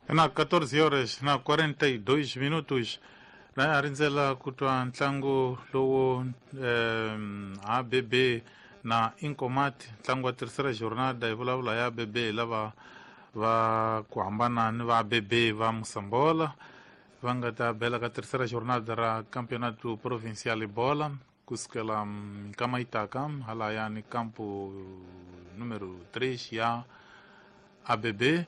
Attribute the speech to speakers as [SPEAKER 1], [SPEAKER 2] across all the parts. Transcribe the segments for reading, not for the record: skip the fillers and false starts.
[SPEAKER 1] Na 14 horas na 42 minutos la a rindzela ku twa ntlangu lowu ABB na Incomat, ntlangu wa terceira jornada. Hi vulavula ya ABB lava va ku hambana ni va ABB va Mosambola va nga ta bela ka terceira jornada ra Campeonato Provincial Bola kusukela nkama yitaka halayani campo número 3 ya ABB.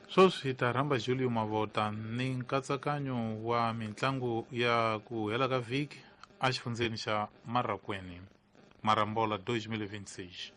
[SPEAKER 1] Sweswi hi ta rhamba Julio Mavota ni nkatsakanyo wa mitlangu ya ku hela ka vhiki exifundzeni xa Marracuene, Marambola 2026.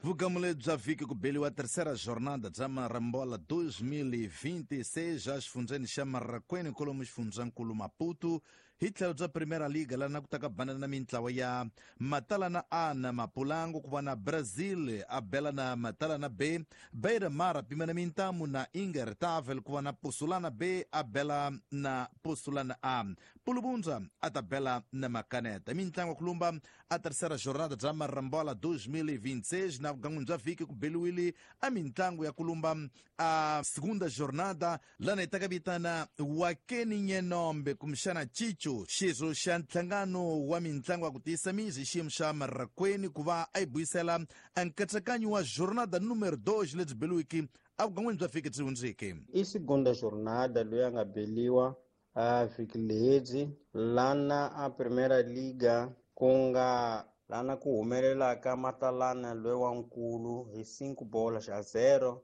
[SPEAKER 2] Vugamule bya vhiki ku beliwa terceira jornada bya Marambola 2026 exifundzeni xa Marracuene, kwalomu xifundzankulu Maputo. Hi tlhelo bya Primera Liga, lana ku ta ka banana na mintlawa ya Matalana A na Mapulango, ku va na Brazil a bela na Matalana B, Beira Mar a pima na mintamu na Ingertavel, ku va na Pusulana B a bela na Pusulana A, Pulubunza a ta bela na Makaneta. Mintlangu ku lumba a terceira jornada bya Marambola 2026. Na vugan'wini bya vhiki ku beliwile a mintlangu ya ku lumba a segunda jornada, lana hi ta ka vitana Wakeni Nyenombe kumbexana Chicho, xirho xa nhlangano wa mintlangu ya ku tiyisa mizi xiyimo xa Marracuene, ku va a yi buyisela a nkatsakanyo wa jornada numero 2 lebyi beliwiki evugan'wini bya vhiki byi hundzeke.
[SPEAKER 3] I segunda jornada loyi a nga beliwa a vhiki lebyi lana a Primera Liga, ku nga lana ku humelelaka Matalana loyi wa nkulu hi 5 bola xa 0,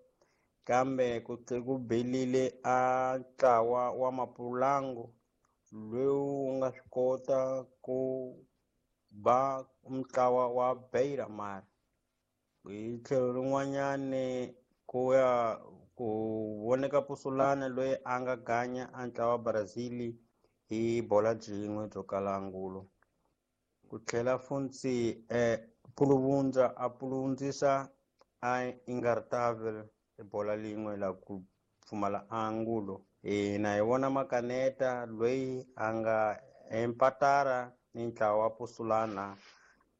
[SPEAKER 3] kambe ku tlhe ku belile a ntlawa wa Mapulango lowu wu nga swi kota ku ba ntlawa wa Beira Mar. Hi tlhelo rin'wanyani ku ya ku voneka Pusulana loyi a nga ganya a ntlawa wa Brazil hi bola byin'we byo kala angulo. Ku tlhela funtsi Puluvundza a puluvundzisa a Ingartavel hi bola lin'we la ku pfumala angulo. Hina hi vona Makaneta loyi a nga empatara ni ntlawa wa Pusulana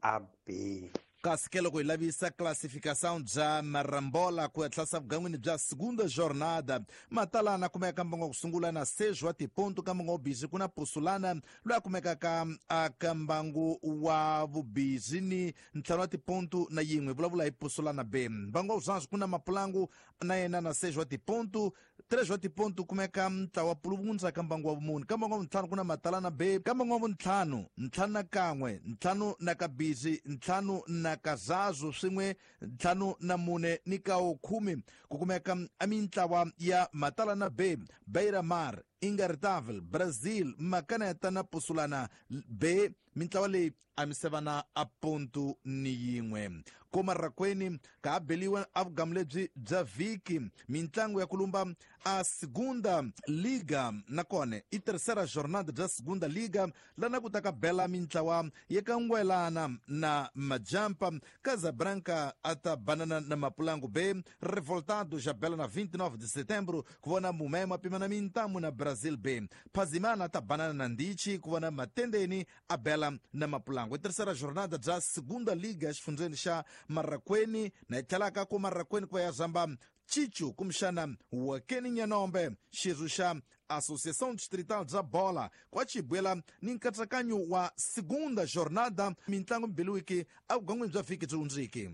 [SPEAKER 3] a B.
[SPEAKER 2] Kasi ke loko hi lavisa classificação bya Marambola ku ya tlhasa vugan'wini bya segunda jornada, Matalana kumeka mbango wa ku sungula na 6 wa tiponto, ka mbango wa vubizi ku na Pusulana loyi a kumekaka aka mbangu wa vubizi ni 5 wa tiponto na yin'we. Vulavula hi Pusulana B. Mbangu wa vuzanzi ku na Mapulangu na yena na 6 wa tiponto, 3 wa tiponto kumeka ntlawa Puluvundza ka mbangu wa vumune. Ka mbangu wa vuntlhanu ku na Matalana B, ka mbangu wa vuntlhanu 5 na kan'we, 5 na kabizi, 5 na kazazu, swin'we 5 na 4 ni kawo 10 ku kumeka a mintlawa ya Matalana B, Beira Mar, Ingartavel, Brazil, Makaneta na Pusulana B. Mintlawa leyi a misevana a ponto ni yin'we. Ko Marracuene ka ha beliwa a vugamu lebyi bya vhiki mintlangu ya ku lumba a segunda liga, nakona i terceira jornada bya segunda liga, lana ku ta ka bela mintlawa ya ka Ngwelana na Majampa, Casabranca a ta banana na Mapulangu B, Revoltado já bela na 29 de setembro ku vona Mumemo a pima na mintamu na Brazil B, Phazimana a ta banana na Ndichi, ku vona Matendeni a bela na Mapulangu. I terceira jornada bya segunda liga exifundzeni xa Marracuene, na yi tlhelaka ku Marracuene ku va ya zamba Chichu kumbexana Wakeni Nyanombe, xirho xa Associação Distrital bya Bola, kwa chibwela ni nkatsakanyo wa segunda jornada mintlangu mbiliwiki evugan'wini bya vhiki byi hundziki.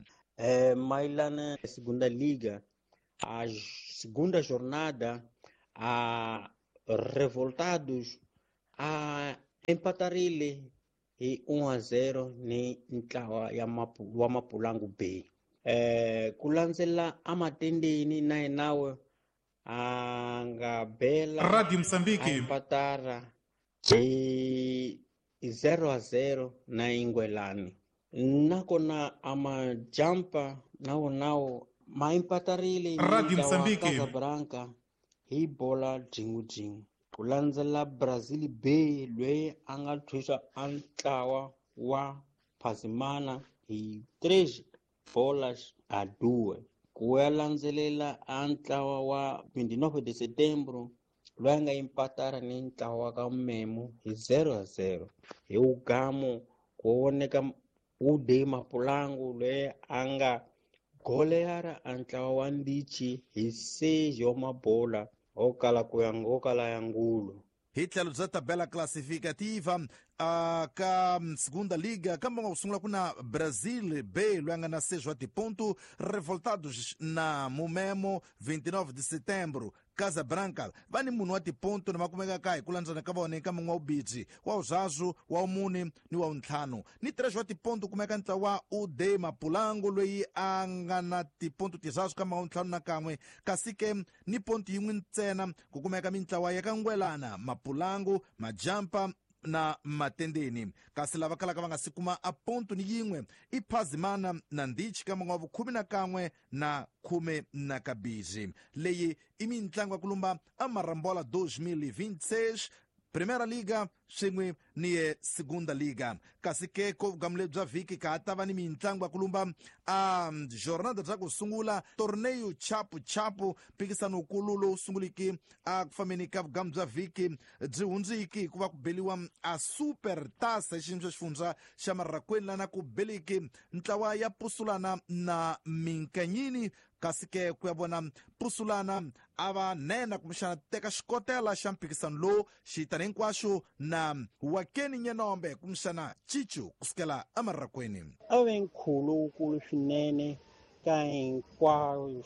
[SPEAKER 3] Mayelana segunda liga, a segunda jornada, a Revoltados a empatarile hi 1-0 ni ntlawa ya wa Mapulangu B. Ku landzela amatendeni na yenawe a nga bela
[SPEAKER 1] Radio Mozambique
[SPEAKER 3] empatara hi 0-0 na Ingwelani. Nakona amajampa nawo nawo ma empatarile
[SPEAKER 1] Radio Mozambique
[SPEAKER 3] Casablanca hi bola byin'we. Ku landzela Brazil B loyi a nga thusa a ntlawa wa Phazimana hi 3 bolas a 2. Ku ya landzelela a ntlawa wa 29 de setembro loyi a nga empatara ni ntlawa ka Memo hi 0-0. Hi ugamu ku voneka Ude Mapulangu loyi a nga Goleara a ntlawa wa Ndichi hi 6 wa mabola ho kala ya ngulu.
[SPEAKER 2] Hi tlhelo bya tabela classificativa ka segunda liga kambe nga ku sungula ku na Brazil B loyi a nga na 6 wa tiponto, Revoltados na Mumemo 29 de setembro, Casabranca va ni munhu wa tiponto na va kumekaka hi ku landzana ka vona eka mun'we wa vubirhi, wa vunharhu, wa vumune ni wa vuntlhanu. Ni 3 wa tiponto kumeka ntlawa wa UD Mapulango loyi a nga na tiponto tinharhu ka wa ntlhanu na kan'we, kasi ke ni ponto yin'we ntsena ku kumeka mintlawa ya ka Ngwelana, Mapulango, Majampa na Matendeni. Kasi lava kalaka va nga si kuma a ponto ni yin'we i Phazimana na Ndichi ka mun'we wa vukhume na kan'we na khume na kabirhi. Leyi i mintlangu ya ku lumba a Marambola 2026 Primeira Liga swin'we ni ye Segunda Liga. Kasi ke ko vugamu lebyi bya vhiki ka ha ta va ni mintlangu ya ku lumba a jornada bya ku sungula torneio chapu chapu, mpikisano wukulu lowu sunguliki a ku fambeni ka vugamu bya vhiki byi hundziki hikuva ku beliwa a super tasa hi xiyimo xa xifundza xa Marrakweni, lana ku beliki ntlawa ya Pusulana na Minkanyini. Kasi ke ku ya vona Pusulana a va nena kumbexana teka xikotela xa mpikisano lowu xitani hinkwaxo na Wakeni Nyenombe kumbexana Chichu kusukela eMarrakweni.
[SPEAKER 3] A ve nkhuvo lowukulu swinene ka hinkwavo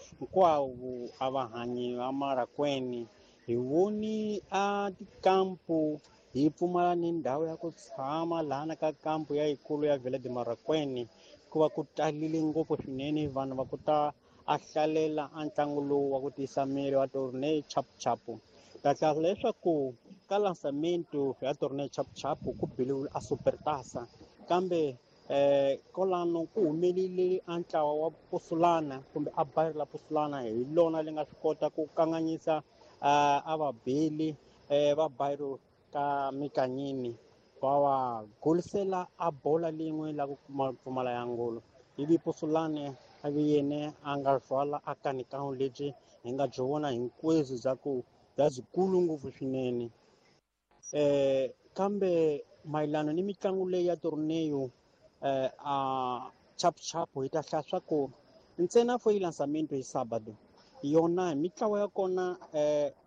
[SPEAKER 3] a va hanyi va Marrakweni. Hi voni a tikampu hi pfumala ni ndhawu ya ku tshama lahana ka kampu ya yikulu ya Vila de Marrakweni, hikuva ku talile ngopfu swinene vanhu va ku ta a hlalela a ntlangu lowu wa ku tiyisa miri wa torneo chapuchapu. Ta hlaya leswaku ka lançamento ya torneo chapuchapu ku biliwile a supertasa, kambe kolano ku humelile a ntlawa wa Pusulana kumbe a bayiri la Pusulana, hi lona li nga swi kota ku kanganyisa a vabeli va bayiri ka Mikanyini, va va golisela a bola lin'we la ku pfumala ya ngolo. Ivi Pusulane a vi yene a nga rhwala a kanikano lebyi hi nga byi vona hinkwenu bya ku bya byikulu ngopfu swinene. Kambe mayelana ni mitlangu leyi ya torneo a chapuchapu hi ta hlaya swa ku ntsena fo yi lançamento hi sábado yona mitlawa ya kona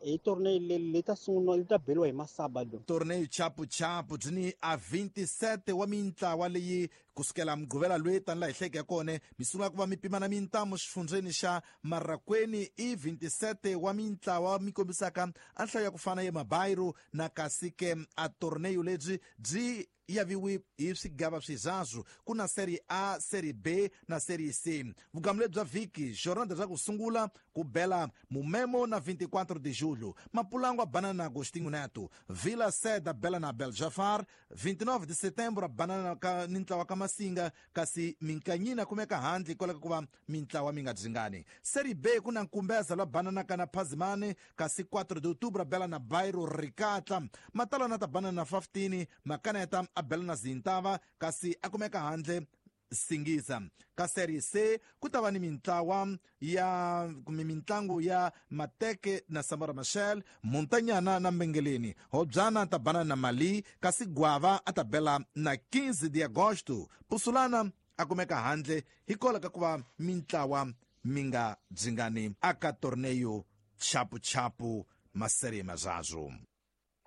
[SPEAKER 3] hi torneo leyi leyi ta sungula yi ta beliwa hi masabado.
[SPEAKER 2] Torneo chapuchapu byi ni a 27 wa mintlawa leyi kusukela Mugqivela loyi tani laha hi hleke ya kona mi sungula ku va mi pimana mintamu xifundzeni xa Marrakweni. I 27 wa mintlawa mi kombisaka a nhlayo ya ku fana ya mabayiro na kasi ke a torneo lebyi byi yaviwi hi swigava swizazwu, ku na Serie A, Serie B na Serie C. Vugamu lebyi bya vhiki jornada bya ku sungula ku bela Mumemo na 24 de julho, Mapulango a banana na Agostinho Neto, Vila Seda bela na Beljafar, 29 de setembro a banana ka ni ntlawa ka Masinga, kasi Minkanyina kumeka handle hikwalaho ka ku va mintlawa mi nga dzingani. Serie B ku na Nkumbeza lwa banana ka na Phazimane, kasi 4 de outubro a bela na Bairro Rikatla, Matalana ta banana na 15, Makaneta a bela na Zintava, kasi a kumeka handle Singiza. Ka Serie C ku ta va ni mintlawa ya kumbe mintlangu ya Mateke na Samora Machel, Muntanyana na Mbengeleni, Hobyana ta bana na Mali, kasi Gwava a ta bela na 15 de agosto, Pusulana a kumeka handle hikwalaho ka ku va mintlawa mi nga dzingani aka torneo chapuchapu maserie mazazwo.